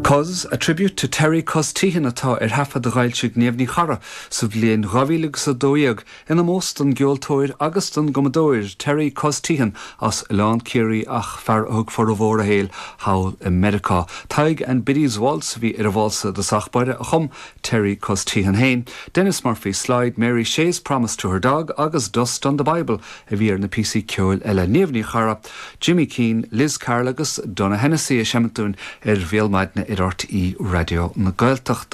Cuz, A Tribute to Terry Cuz Teehan atá ar thaifead a d'fhoilsigh Niamh Ní Charra sa bhliain 2012 in ómós don gceoltóir agus don gcumadóir Terry Cuz Teehan as Oileán Ciarraí ach fear a thug formhór a shaoil thall i Meiriceá. Tadhg and Biddy's Waltz a bhí ar an válsa i dtosach báire a chum Terry Cuz Teehan féin, Denis Murphy's Slide, Mary Shea's Promise to Her Dog agus Dust on the Bible a bhí ar na píosaí ceoil eile. Niamh Ní Charra, Jimmy Keane, Liz Carroll agus Donogh Hennessy ag seimint dúinn ar Bhéal Maidine ar RTÉ Raidió na Gaeltachta.